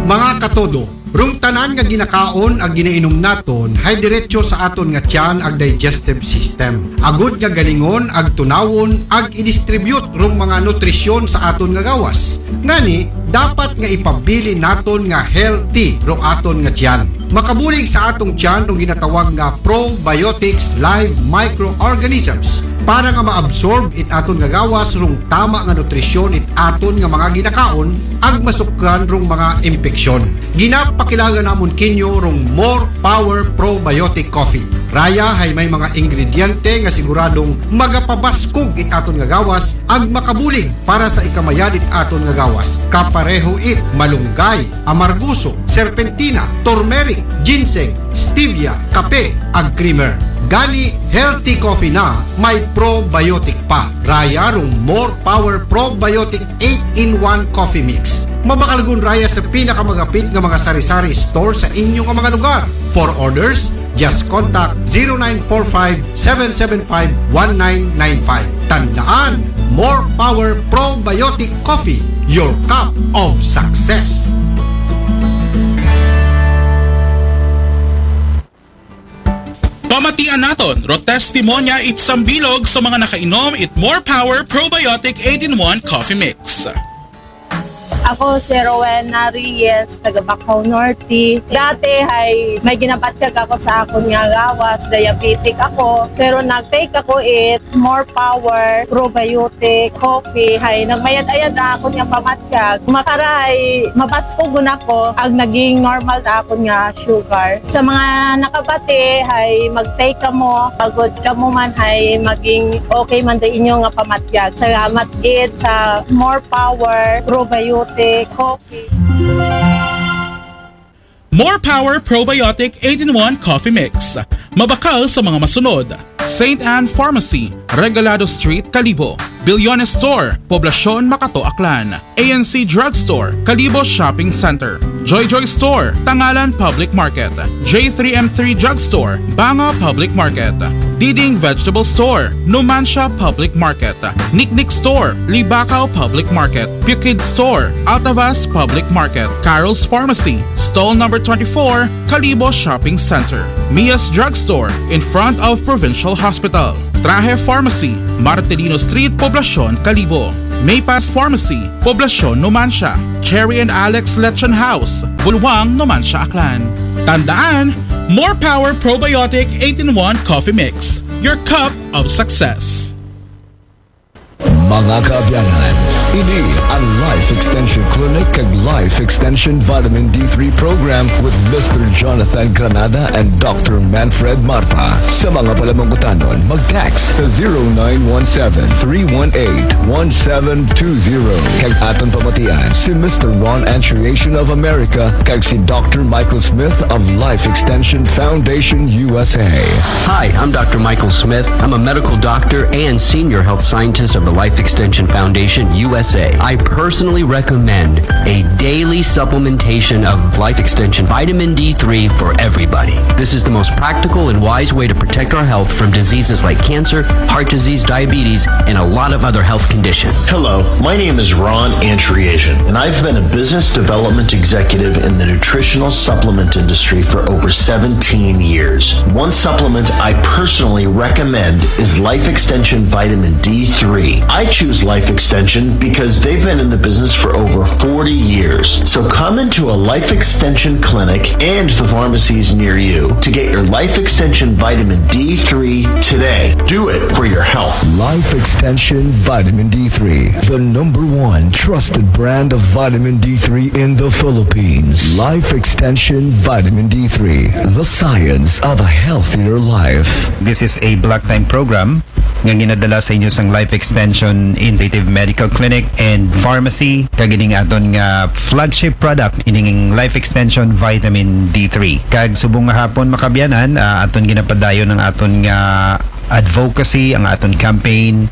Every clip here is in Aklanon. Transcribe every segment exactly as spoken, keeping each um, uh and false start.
Mga katodo, rong tanan nga ginakaon ag ginainom naton hay diretso sa aton nga tiyan ag digestive system. Agod nga galingon ag tunawon ag i-distribute rong mga nutrisyon sa aton nga gawas. Ngani, dapat nga ipabilin naton nga healthy rong aton nga tiyan. Makabulig sa atong tiyan rong ginatawag nga probiotics live microorganisms para nga maabsorb it aton nga gawas rong tama nga nutrisyon it aton nga mga ginakaon ag masukran rong mga impeksyon. Ginapakilaga namon kinyo rong More Power Probiotic Coffee. Raya hay may mga ingrediente nga siguradong magapabaskog it aton nga gawas ag makabulig para sa ikamayad it aton nga gawas. Kapareho it malunggay, amarguso, serpentina, turmeric, ginseng, stevia, kape, ag creamer. Gani, healthy coffee na may probiotic pa. Raya rong More Power Probiotic eight-in-one Coffee Mix. Mabakalgon raya sa pinakamagapit nga mga sari-sari store sa inyo nga mga lugar. For orders, just contact zero nine four five, seven seven five, one nine nine five. Tandaan, More Power Probiotic Coffee, your cup of success. Pamatian naton, ro testimonya it sambilog sa mga nakainom it More Power Probiotic eight-in-one Coffee Mix. Ako si Rowena Reyes, taga Bacau Norte. Dati ay may ginapatyag ako sa akon nga gawas, diabetic ako. Pero nag-take ako it More Power Probiotic Coffee. Hay nagmayad-ayad na akon nga pamatyag. Makaray, mabaskog na ako ag naging normal na akon nga sugar. Sa mga nakabati, hay mag-take kamo, agod kamo man hay maging okay man da inyo nga pamatyag. Salamat gid sa More Power Probiotic Coffee. More Power Probiotic eight-in-one Coffee Mix. Mabakal sa mga masunod. Saint Anne Pharmacy, Regalado Street, Kalibo. Bilyones Store, Poblacion, Makato, Aklan. A N C Drugstore, Kalibo Shopping Center. Joy Joy Store, Tangalan Public Market. J three M three Drugstore, Banga Public Market. Diding Vegetable Store, Numancia Public Market. Niknik Store, Libacao Public Market. Pukid Store, Altavas Public Market. Carol's Pharmacy, Stall Number twenty-four, Kalibo Shopping Center. Mia's Drugstore, in front of Provincial Hospital. Trahe Pharmacy, Martelino Street, Poblacion, Kalibo. Maypass Pharmacy, Poblacion, Numancia. Cherry and Alex Lechon House, Bulwang, Numancia, Aklan. Tandaan, More Power Probiotic eight-in-one Coffee Mix, your cup of success. Mga kaabyanan, ini ang Life Extension Clinic kag Life Extension Vitamin D three Program with Mister Jonathan Granada and Doctor Manfred Marpa. Sa mga palamangkutanon, mag-text sa zero nine one seven, three one eight, one seven two zero. Kag aton pamatian si Mister Ron Antriation of America kag si Doctor Michael Smith of Life Extension Foundation U S A. Hi, I'm Doctor Michael Smith. I'm a medical doctor and senior health scientist of the Life Extension Foundation U S A. I personally recommend a daily supplementation of Life Extension vitamin D three for everybody. This is the most practical and wise way to protect our health from diseases like cancer, heart disease, diabetes, and a lot of other health conditions. Hello, my name is Ron Antriation, and I've been a business development executive in the nutritional supplement industry for over seventeen years. One supplement I personally recommend is Life Extension Vitamin D three. I choose Life Extension because they've been in the business for over forty years. So come into a Life Extension clinic and the pharmacies near you to get your Life Extension Vitamin D three today. Do it for your health. Life Extension Vitamin D three, the number one trusted brand of vitamin D three in the Philippines. Life Extension Vitamin D three, the science of a healthier life. This is a block time program nga ginadala sa inyo sang Life Extension Integrative Medical Clinic and Pharmacy, kag ining aton nga flagship product, ining Life Extension Vitamin D three. Kag subong nga hapon, mga kaabyanan, ah, aton ginapadayon ang aton nga advocacy, ang aton campaign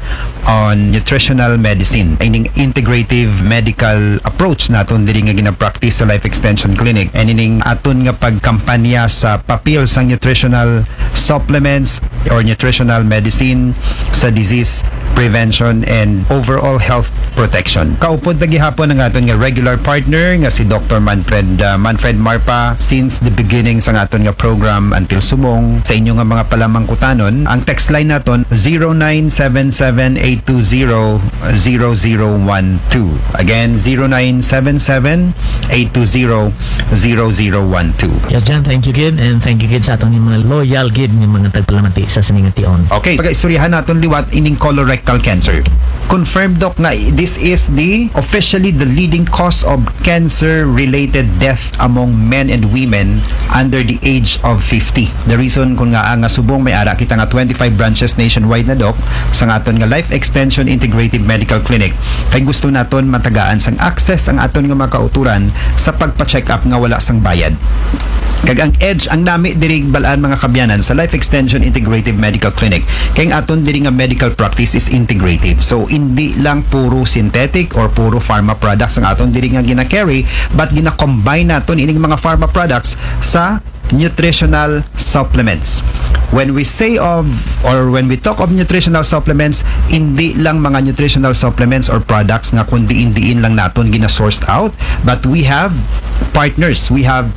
on nutritional medicine, ining integrative medical approach naton diri nga ginapractice sa Life Extension Clinic, and ining aton nga pagkampanya sa papel sang nutritional supplements or nutritional medicine sa disease prevention, and overall health protection. Kaupod ta gihapon ang aton nga regular partner nga si Doctor Manfred, uh, Manfred Marpa since the beginning sa aton nga program until subong. Sa inyo nga mga palamangkutanon, ang text line naton zero nine seven seven eight two zero zero zero one two. Again, zero nine seven seven eight two zero zero zero one two. Yes, John, thank you gid, and thank you gid sa aton mga loyal gid nga mga tagpalamati sa sining nga tion. Okay, pag-istoryahan naton liwat ining colorectal cancer. Confirmed, Doc, nga this is the officially the leading cause of cancer-related death among men and women under the age of fifty. The reason kun nga nga subong may ara kita nga twenty-five branches nationwide na, Doc, sa aton nga Life Extension Integrative Medical Clinic, kay gusto naton matagaan sang access ang aton nga mga kauturan sa pagpa-check up nga wala sang bayad. Kag ang edge, ang nami diri bal-an, mga kaabyanan, sa Life Extension Integrative Medical Clinic, kay ang aton diri nga medical practice is integrative. So, hindi lang puro synthetic or puro pharma products ang aton diri nga gina-carry, but gina-combine naton ining mga pharma products sa nutritional supplements. When we say of, or when we talk of nutritional supplements, hindi lang mga nutritional supplements or products nga kun diin-diin lang naton gina-sourced out, but we have partners, we have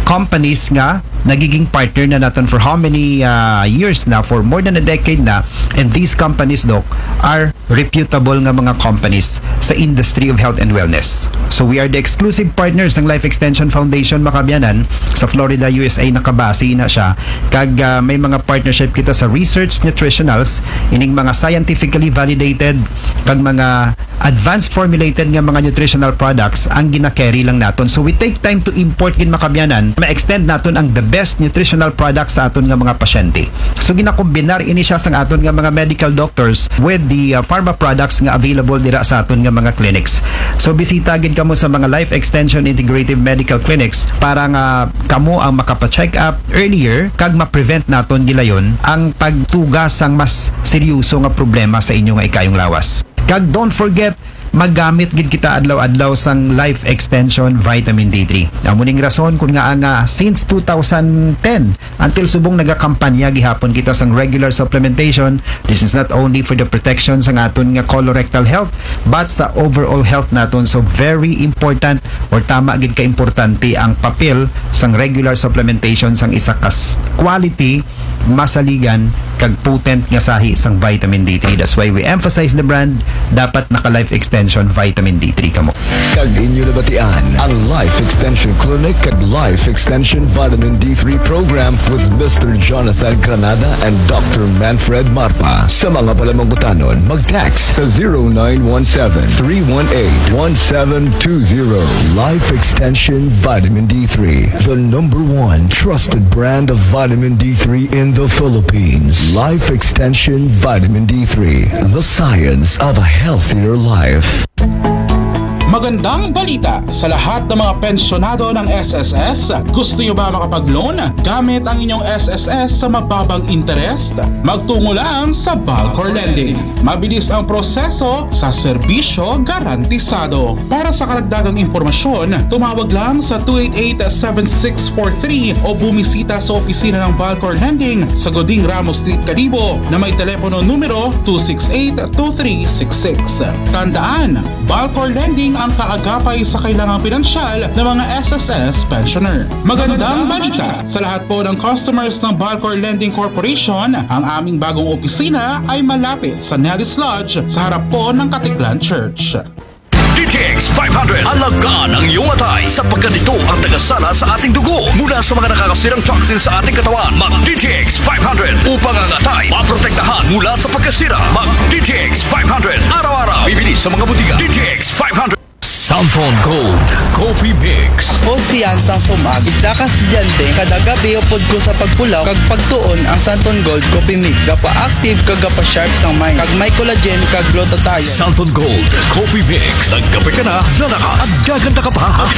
companies nga nagiging partner na naton for how many, uh, years na, for more than a decade na, and these companies, Doc, are reputable nga mga companies sa industry of health and wellness. So we are the exclusive partners ng Life Extension Foundation, mga kaabyanan, sa Florida, U S A nakabase na siya. Kag, ah, may mga partnership kita sa research nutritionals, ining mga scientifically validated kag mga advanced formulated nga mga nutritional products ang gina-carry lang naton. So we take time to import gid, mga kaabyanan, ma-extend naton ang the best nutritional products sa aton nga mga pasyente. So ginakombinar ini siya sang aton nga mga medical doctors with the, uh, pharma products nga available dira sa aton nga mga clinics. So bisita gid kamo sa mga Life Extension Integrative Medical Clinics para nga kamo ang makapa-check up earlier kag ma-prevent naton gilayon ang pagtuga sang mas seryoso nga problema sa inyo nga ikayong lawas. Kag don't forget, magamit gid kita adlaw-adlaw sang Life Extension Vitamin D three. Amo ning rason kun nga nga since two thousand ten until subong nagakampanya gihapon kita sang regular supplementation. This is not only for the protection sang aton nga colorectal health, but sa overall health naton. So very important, or tama gid ka importante, ang papel sang regular supplementation sang isa kas quality, masaligan, kag potent nga sahi sang vitamin D three. That's why we emphasize the brand. Dapat naka Life Extension Vitamin D three kamo. Kag inyo nabatian ang Life Extension Clinic kag Life Extension Vitamin D three Program with Mister Jonathan Granada and Doctor Manfred Marpa. Sa mga palamangkutanon, mag-text sa zero nine one seven, three one eight, one seven two zero. Life Extension Vitamin D three, the number one trusted brand of vitamin D three in the Philippines. Life Extension Vitamin D three, the science of a healthier life. Magandang balita sa lahat ng mga pensyonado ng S S S. Gusto nyo ba makapag-loan gamit ang inyong S S S sa mababang interest? Magtungo lang sa Balcor Lending. Mabilis ang proseso, sa serbisyo garantisado. Para sa karagdagang impormasyon, tumawag lang sa two eight eight, seven six four three o bumisita sa opisina ng Balcor Lending sa Goding Ramos Street, Kalibo, na may telepono numero two six eight, two three six six. Tandaan, Balcor Lending ang kaagapay sa kailangang pinansyal ng mga S S S pensioner. Magandang balita sa lahat po ng customers ng Balcor Lending Corporation, ang aming bagong opisina ay malapit sa Nelly's Lodge sa harap po ng Katiklan Church. D T X five hundred. Alagaan ang iyong atay sapagkat ito ang tagasala sa ating dugo mula sa mga nakakasirang toxin sa ating katawan. Mag D T X five hundred upang ang atay maprotektahan mula sa pagkasira. Mag D T X five hundred araw-araw. Bibili sa mga butika. D T X five hundred. Santon Gold Coffee Mix. Ako si Yansang Sumag, isa ka estudyante. Kada gabi upod ko sa pagpulaw kag pagtuon ang Santon Gold Coffee Mix. Gapa-active kag gapa-sharp sang mind. Kag may collagen kag glutathione. Santon Gold Coffee Mix. Nagkape ka na, lalakas at gaganda ka pa.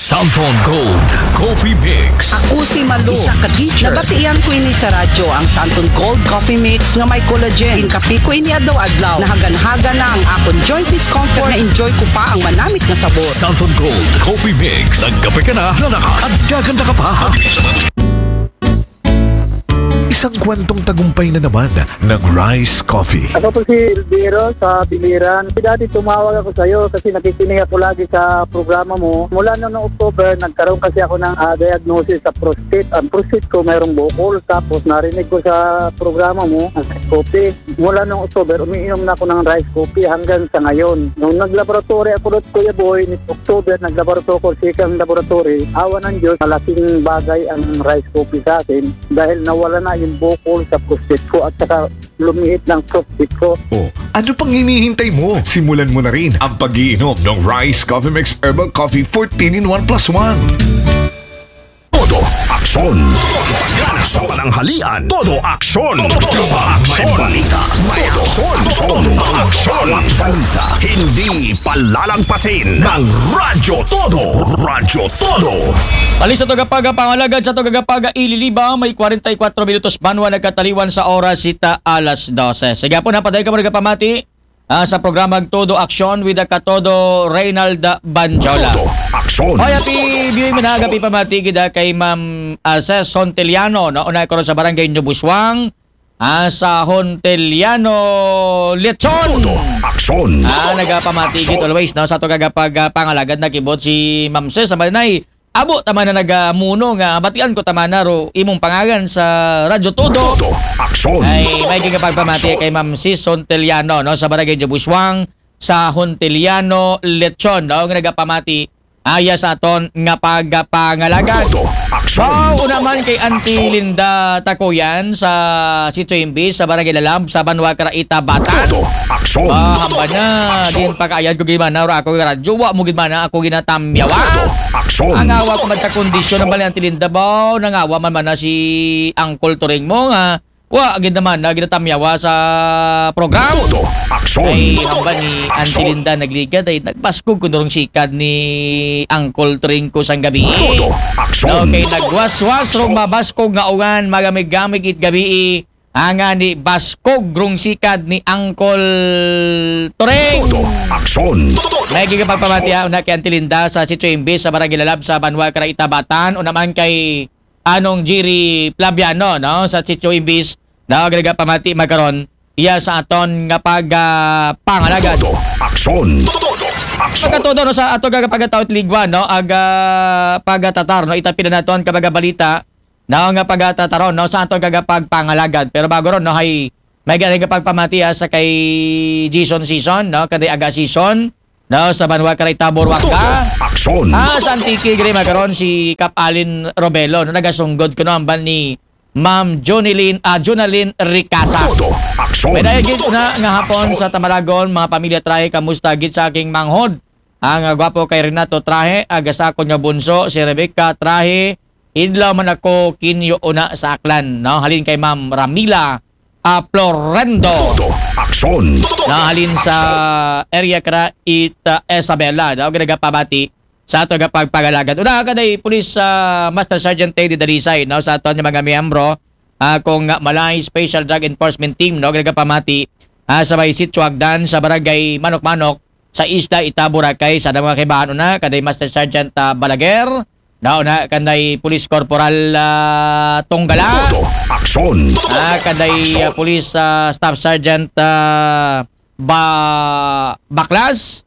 Santon Gold Coffee Mix. Ako si Malu, isa ka teacher. Nabatian ko ini sa radyo, ang Santon Gold Coffee Mix nga may collagen. Ginkape ko ini adlaw-adlaw. Nahagan-hagan na ang akon joint discomfort. Na-enjoy ko pa ang manamit nga sabor. Santon Gold Coffee Mix. Nagkape ka na, lalakas at gaganda ka pa. Isang kwentong tagumpay na naman ng Rice Coffee. Ako po si Elviro sa Biliran. Dati tumawag ako sa iyo kasi nakikinig ako lagi sa programa mo. Mula noong October, nagkaroon kasi ako ng ah, diagnosis sa prostate. Ang prostate ko mayroong bukol. Tapos narinig ko sa programa mo, ang Rice Coffee. Mula noong October, umiinom na ako ng Rice Coffee hanggang sa ngayon. Nung naglaboratory ako doon, Kuya Boy, ni October, naglaboratory ako sa isang laboratory. Awa ng Diyos, malaking bagay ang Rice Coffee sa akin dahil nawala na yung bukol sa prostate ko at saka lumiit ng prostate ko. O, ano pang hinihintay mo? Simulan mo na rin ang pag-iinom ng Rice Coffee Mix Herbal Coffee fourteen in one plus one. Todo aksyon. Todo pagana sa pananghalian. Todo aksyon. Todo aksyon. May balita. May aksyon. Todo aksyon. May balita. Hindi palalagpasin ng Radyo Todo. Radyo Todo. Balik sa tagapag pangalagad sa tagapag ililiba, may kwarenta y kwatro minutos banwa nagkataliwan sa oras sita alas dose. Sige po, napaday ka mo nagpamati ah, sa programang Todo Aksyon with the Katodo Reynald Banjola. Todo aksyon. Hoy, happy viewing, mga happy pamati gid kay Ma'am ah, Ses Honteliano, no? Una ko ron sa barangay Nubuswang, ah, sa Honteliano Lechon. Todo aksyon. Ah, nagapamati gid always, no? Sa to kagapag ah, pangalagad na kibot si Ma'am Ses sa Malinay. Abo tama na nagamuno nga batian ko tama na ro imong pangalan sa Radyo Todo. Todo aksyon. Ay, may gigapagpamati kay Ma'am Sis Honteliano, no, sa Barangay Jabuswang, sa Honteliano Lechon, no, nga nagapamati aya sa aton nga pagpangalagad. Todo aksyon. Wow, una man kay Auntie Linda Takuyan sa Sitio Imbis, sa Barangay Lalab, sa Banwa Karaita, Batan. Todo aksyon. Ah, hamba na. Din pagkaayad ko gimana, ora ako yung radyo, wa mo gimana, ako ginatamyawa. Todo aksyon. Ang awa ko man sa kondisyon ng bali Auntie Linda ba, nangawa man man na si Uncle Turing mo nga, wa, gid naman na ginatamyawa sa program. Todo aksyon. Ay, hamba ni Auntie Linda nagligad ay nagbaskog ko durong sikad ni Uncle Turing ko sang gabi. Todo aksyon. Okay, nagwaswas rong mabaskog nga uwan, magamig-gamig it gabi. Anga ni baskog rong sikad ni Uncle Turing. Todo aksyon. May gigapagpamatiya una kay Auntie Linda sa Sitio Imbis sa Barangay Lalab sa Banwa Karaita, Batan. O naman kay Anong Jerry Plabiano, no, sa Sitio Imbis. Na gagapamati magkaron iya sa aton nga pag ah, pangalagad. Todo aksyon. Todo aksyon. Pagkatudo, no, sa ato gagapagataw it ligwa, no, aga pagatatar, no, itapila naton kabaga balita, no, nga pagatatar, no, sa ato gagapagpangalagad. Pero bago ron, no, hay may gani pagpamati ah, sa kay Jason Season, no, kay aga Season, no, sa Banwa Karaita, Buruanga. Aksyon. Ah, sa Antique gani magkaron si Kap Alin Robelo, no, nagasunggod kuno amban ni Ma'am Jonilyn, ah, Jonalyn Ricasa. Todo aksyon. May dahil gid na nga hapon sa Tamaragon, mga pamilya Trahe, kamusta gid sa aking manghod? Ang ah, gwapo kay Renato Trahe, aga sa akon nga bunso, si Rebecca Trahe, idlaw man ako kinyo una sa Aklan, no? Halin kay Ma'am Ramila ah, Florendo. Todo aksyon. Na halin sa area kara it ah, Isabela, no? Ginagapabati sa ato nga pagpagalagad. Una ka day Police ah, Master Sergeant Teddy Dalisay, no? Sa ato nga mga miyembro, ah, kung ah, Malay Special Drug Enforcement Team, no? Ginagapamati ah, sa may Sitio Agdan, sa Barangay Manok-Manok, sa Isla Ita, Boracay, sa mga kaibahan una, kaday Master Sergeant ah, Balaguer, no, na kanday Police Corporal ah, Tunggala. Todo aksyon. Ah, kanday ah, Police ah, Staff Sergeant ah, ba Baklas.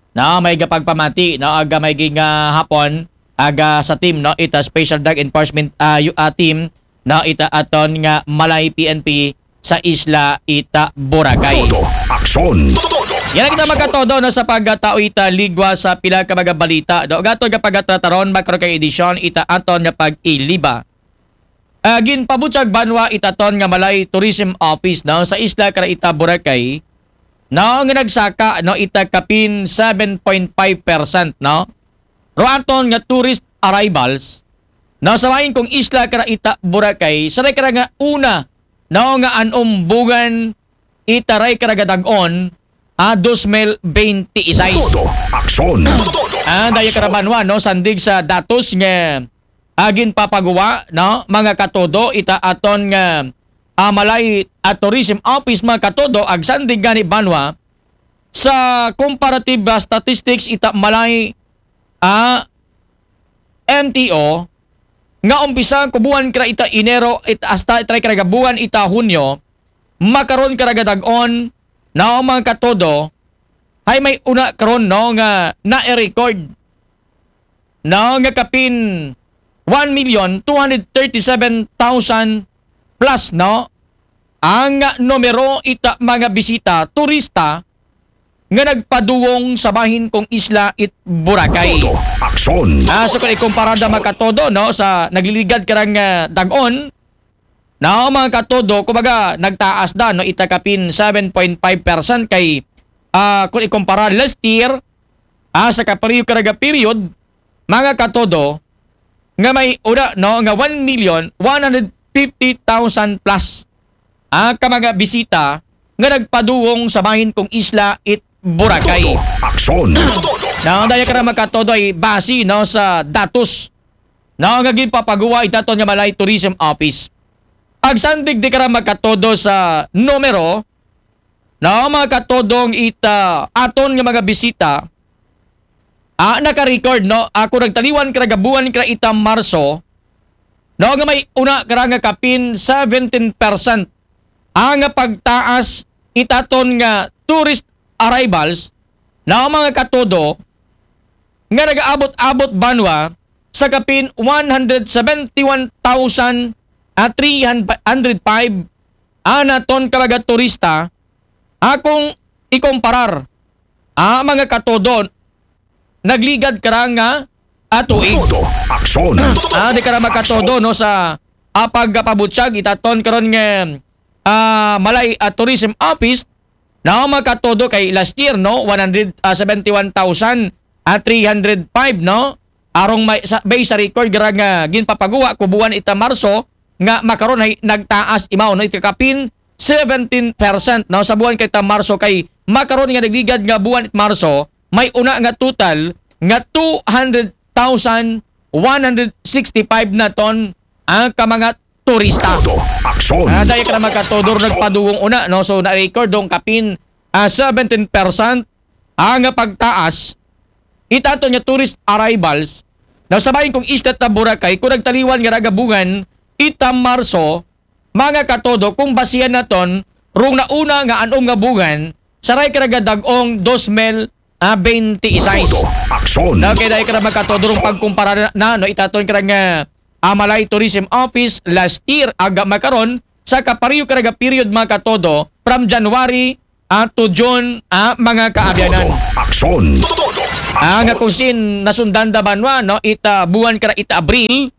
No, may gapagpamati, no, aga may ging ah, hapon, aga sa team, no, ita Special Drug Enforcement ah, yu- ah, team, no, ita aton nga Malay P N P sa isla ita Boracay. Todo aksyon. Yan ang kita magkatodo, no, sa pagkatao ita ligwa sa pila ka mga balita, no? Gato nga pagkatataron, makro kay edisyon ita aton nga pag-iliba. Ah, ginpabutyag banwa itaton nga Malay Tourism Office, no, sa isla kara ita Boracay, no, nga nagsaka, no, ita kapin seven point five percent, no, ro aton nga tourist arrivals, no, sa main kong isla kara ita Boracay, sa kara nga una, no, nga anumbungan itaray kara gadag-on, ah, dos mil bente y seis. Todo aksyon. Ah, daya kara banwa, no, sandig sa datos nga agin papaguwa, no, mga katodo, ita aton nga ah, Malay at Tourism Office, mga katodo, agsandig gani banwa sa comparative ah, statistics ita Malay ah, M T O, nga umpisa ku buwan kara ita Enero it hasta itray kara buwan ita Hunyo, makaron kara dag-on, no, mga katodo, hay may una karon, no, nga na-record, no, nga kapin one million two hundred thirty-seven thousand plus, no, ang numero ita mga bisita, turista, nga nagpadulong sa bahin kong isla it Boracay. Todo aksyon. Ah, so kung ikumpara da mga katodo, no, sa nagliligad karang ah, dag-on, no, mga katodo, kumbaga nagtaas da, no, ita kapin seven point five percent kay ah, kung ikumpara last year, ah, sa kapariyo karaga period, mga katodo, nga may una, no, nga one million one hundred fifty thousand plus ang ka mga bisita nga nagpadulong sa bahin kong isla it Boracay. Todo aksyon. Na ang daya ka na magkatodo ay base, no, sa datos, no, nga ginpapaguwa itaton nga Malay Tourism Office. Pagsandig di ka na magkatodo sa numero, no, mga katodong ita aton nga mga bisita, ah, naka-record, no, ako nagtaliwan kara gabuhan kara ita Marso, no, nga may una kara nga kapin seventeen percent ang pagtaas itaton nga tourist arrivals, no, mga katodo, nga nagaabot-abot banwa sa kapin one hundred seventy-one thousand three hundred five ang naton karaga turista, akong ikomparar, ah, mga katodo, nagligad kara nga atuig. Todo aksyon. Ah, di kara makatodo, no, sa ah, pagpabutyag itaton karon nga ah, Malay at Tourism Office, no, mga katodo kay last year, no, one hundred seventy-one thousand three hundred five, no, arong may sa, based sa record gara nga ginpapaguwa ko buwan ita Marso nga makaron ay nagtaas imaw, no, ita kapin seventeen percent, no, sa buwan kay ita Marso kay makaron nga nagligad nga buwan it Marso may una nga total nga two hundred thousand one hundred sixty-five na ton ang ka mga turista. Todo aksyon. Ah, dahil ka na magkatodor nagpadulong una, no? So, na-record dong kapin ah, seventeen percent ang pagtaas itato nga tourist arrivals na sa bahin kong isla ta Boracay kung nagtaliwan nga ragabungan ita Marso, mga katodo, kung basihan naton rung nauna nga anom nga buwan saray karaga dag-ong dos mil twenty-six. Todo aksyon. Na kay dahil ka na magkatodo rung pagkumpara na, no, itaton karaga ah, Malay Tourism Office last year aga makaron sa kapariyo karaga period mga katodo from January ah, to June ah, mga kaabyanan. Todo aksyon. Ah, nga kung sin nasundan da banwa, no, ita buwan kara ita Abril,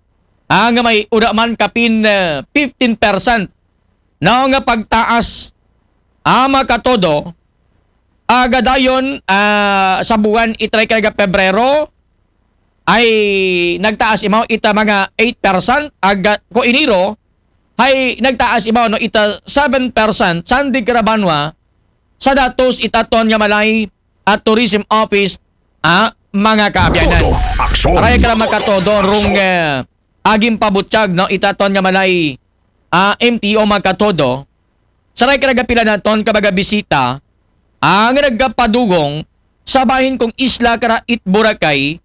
ah, nga may una man kapin ah, fifteen percent, no, nga pagtaas ah, mga katodo, agadayon ah, sa buwan itray karaga Pebrero, ay nagtaas imaw ita mga eight percent, aga ko Enero ay nagtaas imaw, no, ita seven percent sandig kara banwa sa datos itaton nga Malay at Tourism Office ah, mga kaabyanan. Todo aksyon. Aray ka na makatodo rung ah, aging pabutyag, no, itaton nga Malay ah, M T O mga katodo. Saray ka nagapila naton ka mga bisita ang nagkapadugong sa bahin kong isla kara it Boracay,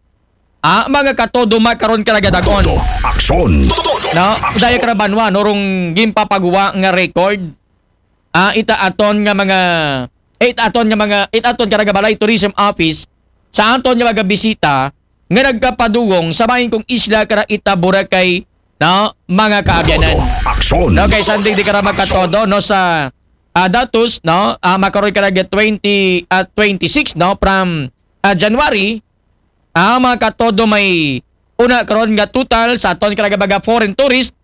ah, mga katodo makaron ka nagadagon. Todo aksyon. No, daya ka na banwa, no, rung ginpapaguwa nga record. Ah, ita aton nga mga, eh, ita aton nga mga, ita aton ka nagabalay tourism office, sa aton nga mga bisita, nga nagkapadugong sa bahin kong isla kara ita Boracay, no, mga kaabyanan. Todo aksyon. No, kay sandig di kara magkatodo, no, sa ah, datos, no, ah, makaroy karaga twenty at twenty-six, no, from ah, January, ang mga katodo may una karon nga total sa aton karaga mga foreign tourist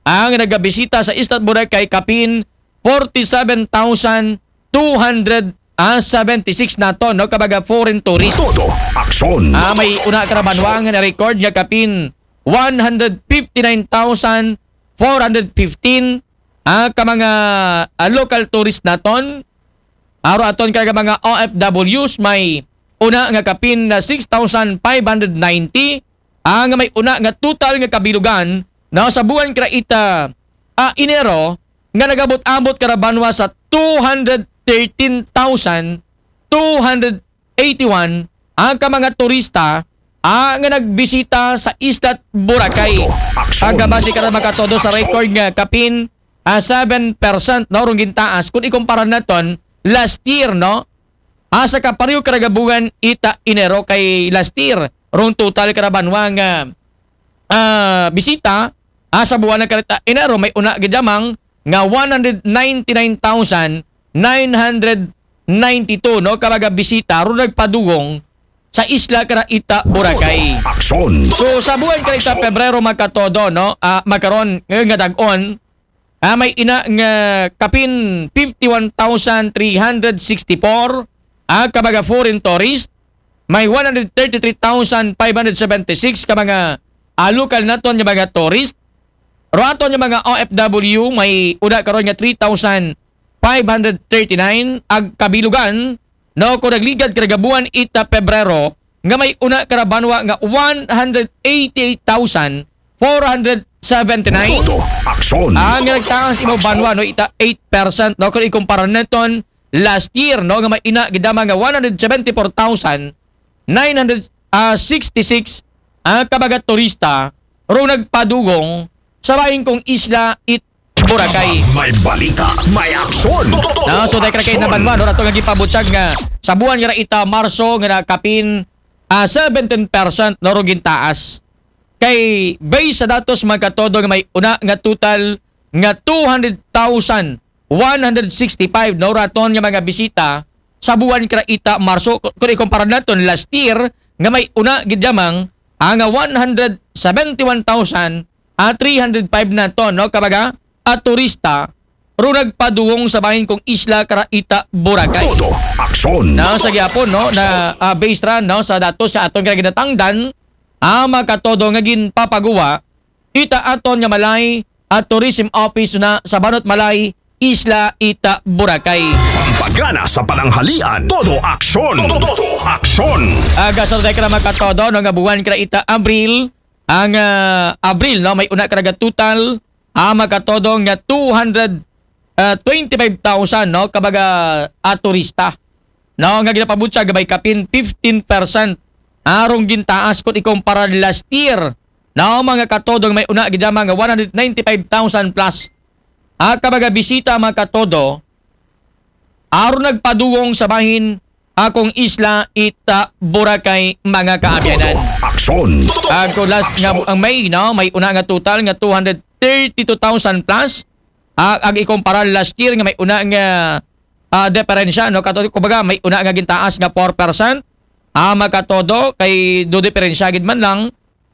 ang nagabisita sa Isla Boracay kapin forty-seven thousand two hundred seventy-six naton, no, kabaga foreign tourist. Todo aksyon. Ah, may una karabanwa nga na-record nga kapin one hundred fifty-nine thousand four hundred fifteen ah, ka mga ah, local tourist naton. Aro aton karaga mga O F Ws may una nga kapin na six thousand five hundred ninety, ang may una nga total nga kabilugan na sa buwan kara ita ah, Enero nga nagabot-abot karabanwa sa two hundred thirteen thousand two hundred eighty-one ang ka mga turista ah, nga nagbisita sa Isla Boracay. Aksyon. Aga base kara, mga katodo, sa record nga kapin, ah, seven percent, no, rong gintaas kung ikumpara naton last year, no? Ah, sa kapareho kara gabungan ita Enero kay last year, rong total kara banwa nga, ah, bisita, ah, sa buwan kara ita Enero, may una gid lamang nga one hundred ninety-nine thousand nine hundred ninety-two, no, ka mga bisita ron nagpadugong sa isla kara ita Boracay. Aksyon. So, sa buwan kara ita Pebrero, mga katodo, no, ah, makaron, ngayon nga dag-on, ah, may ina nga kapin fifty-one thousand three hundred sixty-four, ah, ka mga foreign tourist, may one hundred thirty-three thousand five hundred seventy-six ka mga, ah, lokal naton nga mga tourist, ro aton nga mga O F W, may una karon nga three thousand five hundred thirty-nine, ag kabilugan, no, kung nagligad kara gabuan ita Pebrero, nga may una kara banwa nga one hundred eighty-eight thousand four hundred seventy-nine. Todo aksyon. Ang nagtaas imo banwa, no, ita eight percent, no, kung ikumpara naton last year, no, nga may ina gid lamang nga one hundred seventy-four thousand nine hundred sixty-six ang kabaga turista ro nagpadugong sa bahin kong isla it Boracay. May balita, may aksyon. Todo, todo, no, so, dahil kay aksyon. Nabanwa, no, ato nga gipabutyag nga sa buwan nga ita Marso nga nakapin, ah, seventeen percent, no, ro gintaas. Kay base sa datos, mga katodo, nga may una nga total nga two hundred thousand one hundred sixty-five, no, raton nga mga bisita sa buwan kara ita Marso. Ku-, kung ikumpara naton last year, nga may una gid lamang, ah, nga one hundred seventy-one thousand, ah, three hundred five naton, no, kabaga, at turista ro nagpadugong sa bahin kong isla kara ita Boracay. Todo aksyon. Na sa gyapon, no, na, ah, based ra, no, sa datos sa aton kara ginatangdan, ah, mga katodo, nga ginpapaguwa ita aton nga Malay at Tourism Office na sa Banot Malay, Isla ita Boracay. Pampagana sa pananghalian. Todo aksyon. Todo, todo aksyon. Aga sa kara, mga katodo, no, nga buwan kara ita Abril, ang, ah, Abril, no, may una kara total, ah, mga katodo, nga two hundred, ah, twenty-five thousand, no, kabaga, ah, turista, no, nga ginapabutyag may kapin fifteen percent arong gintaas kung ikumpara last year, no, mga katodo, nga may una gid lamang nga one hundred ninety-five thousand plus, ah, kabaga bisita, mga katodo, aron nagpadugong sa bahin akong isla ita Boracay, mga kaabyanan. Aksyon. Ako last nga ang May, no, may una nga total nga two hundred thirty-two thousand plus. Ah, ag ikumpara last year nga may una nga, ah, diferensya, no? Kato, kumbaga, may una nga gintaas nga four percent. Ah, mga katodo, kay do diferensya gid man lang.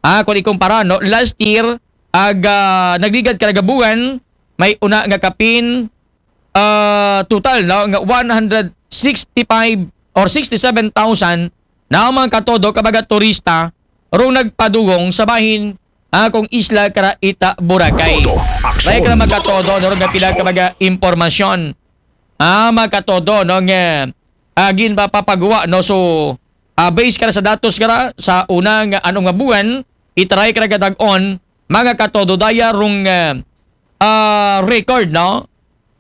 Ah, kung ikumpara, no, last year, ag, ah, nagligad kara gabuan, may una nga kapin, ah, total, no, nga one hundred sixty-five or sixty-seven thousand na, mga katodo, kabaga turista rong nagpadugong sa bahin, ah, kong isla kara ita Boracay. Todo aksyon. May kara, mga katodo, no, nga pila kabaga impormasyon, ah, mga katodo, no, nga, ah, ginpapaguwa, no. So, ah, base kara sa datos kara sa una nga, ano nga buwan, itaray kara gadag-on, mga katodo, daya rong, ah, ah, record, no?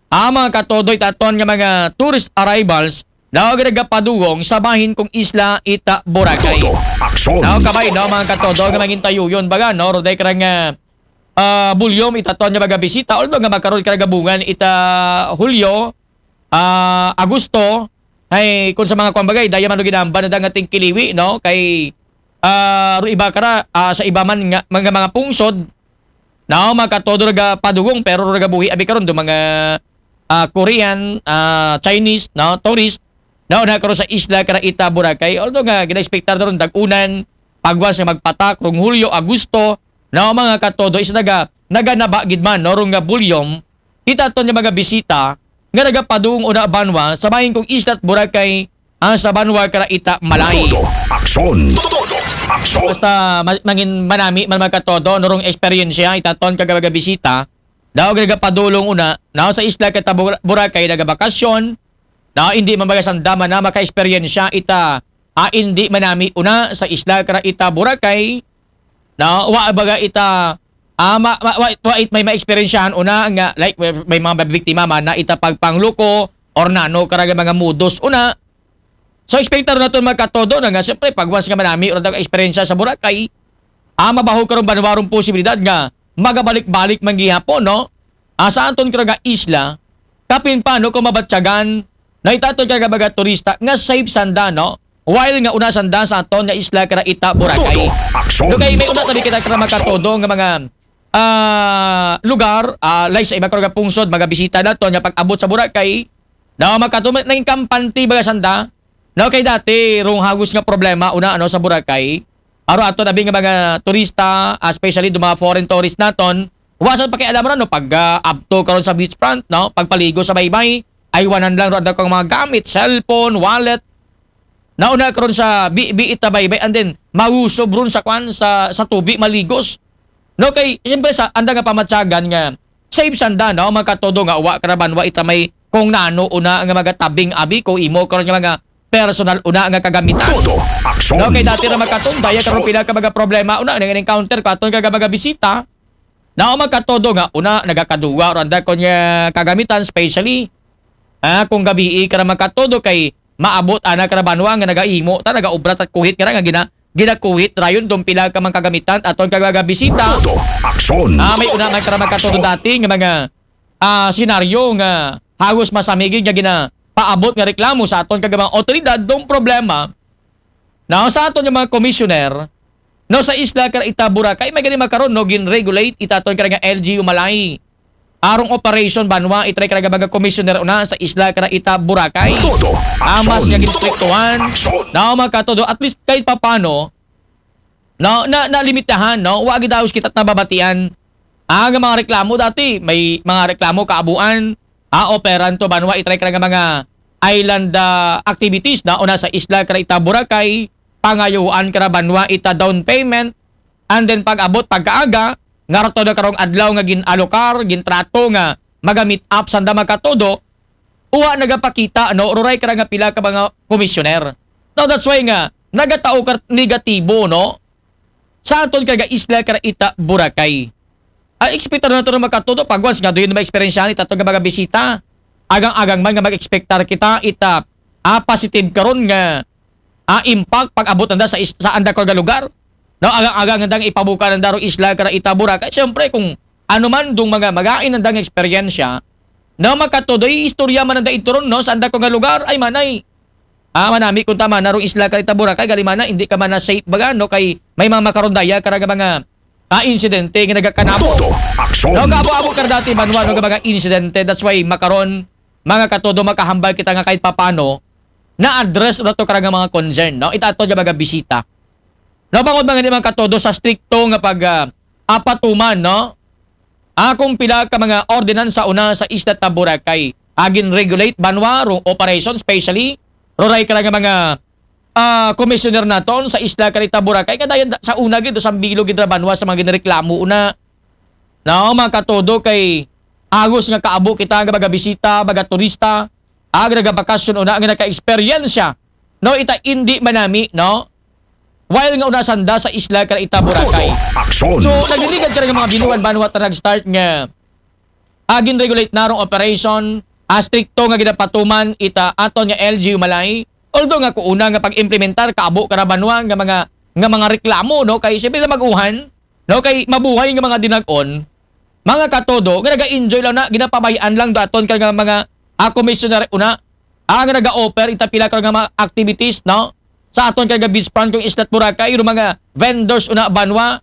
Ah, mga katodo, itaton nga mga tourist arrivals na nagapadugong sa bahin kong isla ita Boracay. Todo aksyon. Now, kabay, no, mga katodo, nga mangintayuyon baga, no, roday kara nga, ah, bulyom itaton nga mga bisita, although nga makaron kara gabungan ita Hulyo, ah, Agosto, ay kung sa mga kuan bagay, daya man ginamba na dangating kiliwi, no? Kay, ah, ro iba kara, ah, sa iba man nga, mga, mga pungsod, no, mga katodo, nagapadugong, pero nagabuhi abi karon do mga, ah, Korean, ah, Chinese, no, tourist, no, na karon sa isla kara ita Boracay. Although nga gina-expectar na ron dag-unan, pagwas nga magpatak rong Hulyo, Agosto, no, mga katodo, is naga, naganaba gid man, no, rong nga bulyom itaton nga mga bisita nga nagapadung una banwa sa bahin kong isla at Boracay, ah, sa banwa kara ita Malay. Todo aksyon. Todo aksyon. Basta ma-, mangin manami man, mga katodo, no, rong eksperyensya itaton nga mga bisita daw nagapadulong una, no, sa isla kara ita Bor-, Boracay nagabakasyon, no, hindi man baga sanda man na makaeksperyensya ita, ah, hindi manami una sa isla kara ita Boracay, no, wa baga ita, ah, ma-, ma-, wa, wa it may maeksperiensyahan una nga, like, may, may mga biktima man na ita pagpangluko or nano kara nga mga modus una, So, expectar naton, mga katodo, na nga, siyempre, pag once nga manami, o nag-experience sa Boracay, ah, mabaho karon banwa rong posibilidad nga magabalik-balik man gihapon, no? Ah, sa aton kira nga isla, kapin pa, no, kung mabatyagan, na itaton kira nga mga turista nga safe sanda, no? While nga una sanda sa aton nga isla kira ita Boracay. Todo aksyon. No, kay may una tabi kita kira, mga katodo, nga mga, ah, lugar, ah, like sa iba kira nga pungsod, mga bisita naton nga pag-abot sa Boracay, no, mga katodo, naging kampante ba sanda, no, kay dati, rong hagos nga problema, una, ano, sa Boracay, aro ato nabi nga mga turista, ah, especially do mga foreign tourist naton, wa sad pakialam ron, no, pag, ah, abto karon sa beachfront, no, pagpaligo sa baybay, ay wanan lang ron daw kang mga gamit, cellphone, wallet, nauna karon sa bi-, biit na baybay, and then, mausob ron sa kwan, sa, sa tubi, maligos. No, kay, siyempre, sa, anda nga pamatyagan nga, safe sanda, no, mga katodo, nga wa karaban, wa ita may kung nano una nga mga tabing abi, kung imo karon nga mga personal una nga kagamitan. Todo aksyon. No, kay dati ra, mga katodo, daya karon pila ka mga problema una nga encounter ko aton ka mga bisita. No, mga katodo, nga una nagakaduwa ron da kon nga kagamitan, especially, ah, kung gabii ka ra, mga katodo, kay maabot ana ka ra banwa nga nagaimo ta, nagaobra ta kuhit nga ra nga gina-, ginakuhit rayon dong pila ka mga kagamitan aton ka mga bisita. Todo aksyon. Ah, may una man ka ra, mga katodo, dati nga mga, ah, senaryo nga hagos masamigid nga ginapaabot nga reklamo sa aton ka mga otoridad dong problema na sa aton nga mga komisyoner, no, sa isla kara ita Boracay, may gani makaron, no, gin-regulate ita aton kara nga L G U Malay. Arong operation banwa, itry kara nga mga komisyoner una sa isla kara ita Boracay. Todo aksyon. Amas nga ginstriktuhan. Todo aksyon. No, mga katodo, at least kahit papano, no, na, na limitahan, no, wa gid daw kita nababatian. Ah, nga mga reklamo dati, may mga reklamo kaabuan, ah, operan to banwa, itry kara nga mga island, ah, activities na una sa isla kara ita Boracay, pangayuan kara banwa ita down payment, and then pag-abot pagkaaga, nga rato na karong adlaw nga gin-alokar, gintrato nga maga-meet up sanda, mga katodo, uwa nagapakita, no, ruray kara nga pila ka mga komisyoner. No, that's why nga, nagatao ka negatibo, no, sa aton kara isla kara ita Boracay. Ang ekspektar nato, mga katodo, pag once nga doon na ma-experience ita aton nga mga bisita. Agang-agang man nga mag-expectar kita ita, ah, positive karon nga, ah, impact pag-abot nanda sa is-, sa anda kara nga lugar. No, agang-agang nanda nga ipabuka nanda ro isla kara ita Boracay. Siyempre, kung ano man dong mga magain nanda nga eksperyensya, no, mga katodo, istorya man nanda ito ron, no, sa anda kara nga lugar, ay manay. Ah, manami kung tama na rong isla kara ita Boracay, gali mana, hindi ka mana safe baga, no, kay may mga makaron daya kara nga mga, ah, insidente nga nagakanamo. Todo aksyon. No, kaabo-abo kara dati banwa, no, nga mga insidente. That's why makaron, mga katodo, makahambal kita nga kahit papano, na-address rato kara nga mga concern, no? Ita aton nga mga bisita. No, bangod mga ni, mga katodo, sa strikto nga pag, ah, apatuman, no? Akong pila ka mga ordinansa una sa isla ta Boracay. Agin regulate banwa, ro-, operation, especially, ruray kara nga mga, ah, commissioner naton sa isla kara ita Boracay. Nga dayan da-, sa una gid, sa bilo gid ra banwa sa mga ginreklamo una. No, mga katodo, kay agos nga kaabo kita nga mga bisita, mga turista, ah, nga nagabakasyon una nga naka-eksperyensya, no, ita indi manami, no? While nga una sanda sa isla kara ita Boracay. Todo aksyon. So, nagligad kara nga mga binuan banwa ta nag-start nga agin regulate na rong operation, ah, strikto nga ginapatuman ita aton nga L G U Malay. Although nga kung una nga pag-implementar, kaabo kara banwa nga mga, nga mga reklamo, no? Kay siyempre na mag-uhan, no? Kay mabuhay nga mga dinag-on, mga katodo, nga naga-enjoy lang na, ginapabay-an lang do aton kara nga mga, ah, komisyoner una, ah, nga naga-offer ita pila kara nga mga activities, no? Sa aton kara nga beachfront kung isla ta Boracay, yung mga vendors una banwa,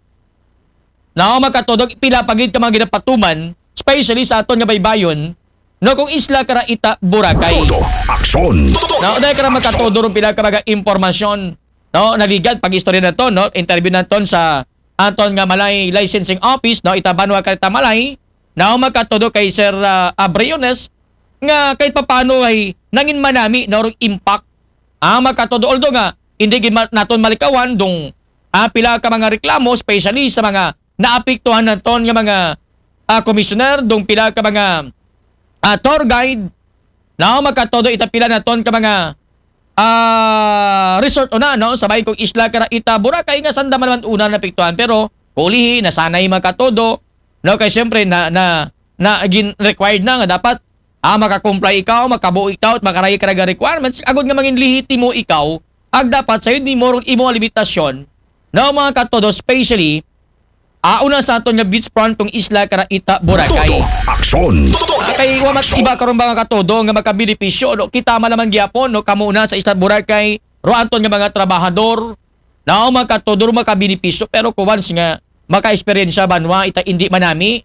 no, mga katodo, pila pa gid ka mga ginapatuman, especially sa aton nga baybayon, no, kung isla kara ita Boracay. Todo aksyon. No, dahil kara, mga katodo, rong pila ka mga impormasyon, no, naligad pag-istorya naton, no, interview naton sa aton nga Malay Licensing Office, no, ita banwa kara ita Malay, no, mga katodo, kay Sir, ah, Abriones, nga kahit papano ay nangin manami, no, rong impact. Ah, mga katodo, although nga, hindi gid ma-, naton malikawan dong, ah, pila ka mga reklamo, especially sa mga naapektuhan naton nga mga, ah, komisyoner, dong pila ka mga, ah, tour guide, no, mga katodo, ita pila naton ka mga, ah, resort una, no, sa bahin kong isla kara ita Boracay nga sanda man naman una naapektuhan, pero kulihi, nasanay, mga katodo, no, kay siyempre na, na, na gin-required na nga dapat Ah, maka-comply ikaw, makabuo ikaw, at makarayi ka nga requirements, agod nga mangin lehitimo ikaw, ag dapat sayo nimo run imo nga limitasyon, no, mga katodo, especially, ah, una sa aton nga beachfront kang isla kara ita Boracay. Todo aksyon. Ah, kay wa man iba karon mga katodo nga makabenepisyo, no? Kita man lamang gihapon, no? Kamo una sa isla Boracay, ro aton nga mga trabahador, no, mga katodo, ro makabenepisyo, pero kung once nga maka-eksperyensya banwa ita indi manami,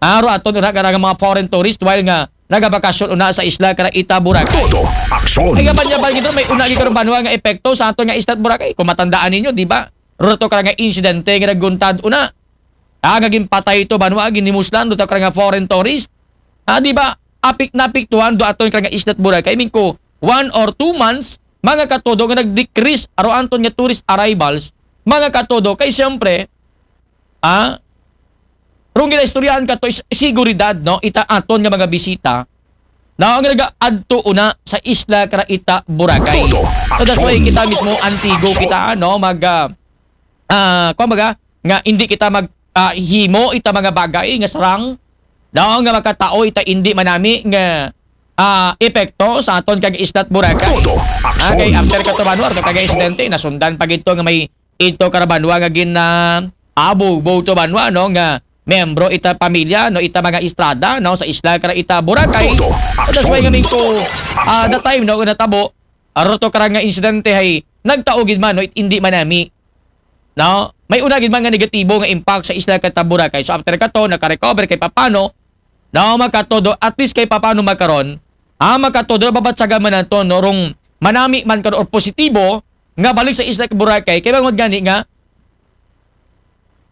ah, ro aton una nga mga foreign tourist, while nga nagabakasyon una sa isla kara ita Boracay. Todo aksyon. Ay, kaban niya ba gito, may una gid karon banwa nga epekto sa aton nga isla Boracay. Kung matandaan ninyo, di ba? Ro to kara nga insidente nga nagguntad una. Ah, nga ginpatay to banwa, ginimuslan do to kara nga foreign tourist. Ah, di ba? Apik napiktuhan do aton kara nga isla Boracay. I mean ko, one or two months, mga katodo nga nag-decrease aro anton nga tourist arrivals, mga katodo, kay siyempre, ah, rong ginaistoryahan kato is seguridad, no? Ita aton nga mga bisita, no? Nga nagaadto una sa isla kara ita Boracay. Todo So that's why aksyon. kita mismo antigo Aksyon. kita, no? Mag, ah, ah, kumbaga, nga hindi kita mag, ah, himo ita mga bagay nga sarang, no? Nga makatao ita hindi manami nga, ah, epekto sa aton kang isla Boracay. Todo Ah, kay aksyon. after kato banwa, to kag Aksyon. insidente, nasundan pa gito nga may ito kara banwa nga gin, ah, abog, bo to banwa, no, nga membro ita pamilya, no, ita mga Estrada, no, sa isla kara ita Boracay. Todo So that's why aksyon. nga mingko, ah, Aksyon. the time, no, natabo, aro to kara nga insidente hay nagtao gid man, no, it-, hindi manami. No? May una gid man nga negatibo nga impact sa isla kara ita Boracay. So after kato, naka-recover kay papano, no, mga katodo, at least kay papano makaron, ah, mga katodo, babatsagan man nato, no, rong manami man karon or positibo nga balik sa isla Boracay, kay bangod gani nga,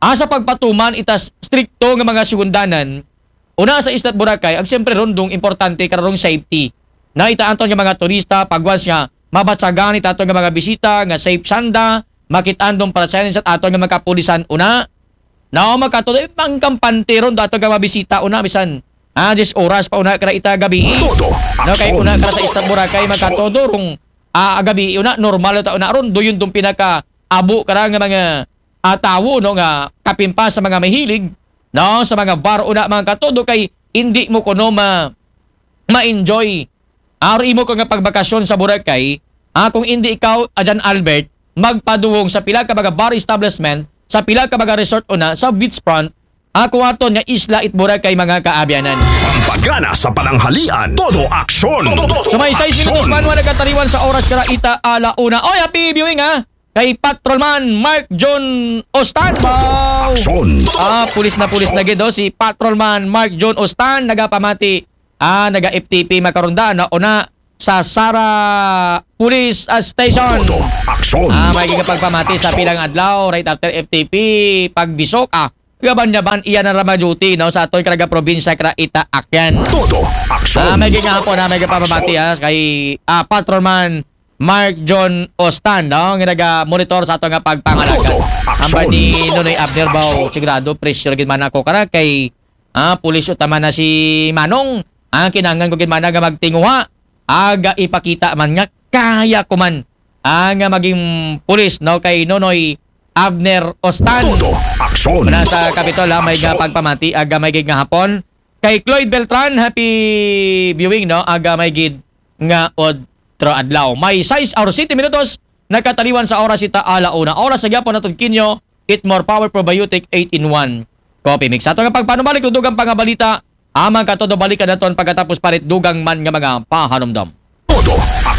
ah, sa pagpatuman ita s-, strikto nga mga sigundanan, una sa isla Boracay, ang siyempre rondong importante karong safety. Na ita aton nga mga turista, pag once nga mabatsagan ita aton nga mga bisita nga safe sanda, makit-an dong presensya sa aton nga mga kapulisan una, no, mga katodo, eh, pangkampante ron do aton nga mga bisita una, bisan, ah, diyes oras pa una kara ita gabi. Todo No, kay aksyon. una kara sa isla Boracay, mga Aksyon. katodo, rong, ah, gabi una, normal ta una ron, do yun dong pinaka abo kara nga mga, ah, tawo, no, nga kapin pa sa mga mahilig, no, sa mga bar una, mga katodo, kay hindi mo kuno ma-, ma-enjoy. Aro imo ko nga pagbakasyon sa Boracay, ah, kung hindi ikaw, ah, Jan Albert, magpaduwong sa pila ka mga bar establishment, sa pila ka mga resort una, sa beachfront, ah, kung aton nga isla it Boracay, mga kaabyanan. Pampagana sa pananghalian, todo aksyon. Todo, todo So may sais minutos aksyon. pa, nagkataliwan sa oras kara ita ala una. Oy, happy viewing, ha? Kay Patrolman Mark John Ostan. Wow. Aksyon. Ah, pulis na pulis na gid, oh, si Patrolman Mark John Ostan nagapamati. Ah, naga-F T P makaron da, no, una sa Sara Police, ah, Station. Todo aksyon. Ah, may gigapagpamati sa Aksyon. pilang adlaw, right after F T P, pagbisok, ah, gaban-gaban, iya na rama duty, no, sa aton karaga probinsya, kara ita Akyan. Todo aksyon. Ah, may gigahapon, ah, may gapamati, Aksyon. ah, kay, ah, Patrolman Mark John Ostan, no, nga naga-monitor sa ato nga pagpangalagad. Todo aksyon. Hambal ni Nonoy Abner Bao, Aksyon. sigurado, pressure gid man ako kara kay, ah, pulis utaman na si Manong. Ah, kinahanglan ko gid man nga magtinguha. Aga ipakita man nga kaya ko man, ah, nga maging pulis, no, kay Nonoy Abner Ostan. Todo aksyon. Muna sa Kapitol, ha, may nga Aksyon. pagpamati, aga may gid nga hapon. Kay Cloyd Beltran, happy viewing, no? Aga may gid nga otro adlaw. May sais or siyete minutos, nakataliwan sa oras ita ala una. Oras sa gyapon naton kinyo, Eat More Power Probiotic eight in one Coffee Mix. Sa ato nga pagpanumalik, dugang pa nga balita, amang katodo balikan naton pagkatapos parit dugang man nga mga pahanumdom. Todo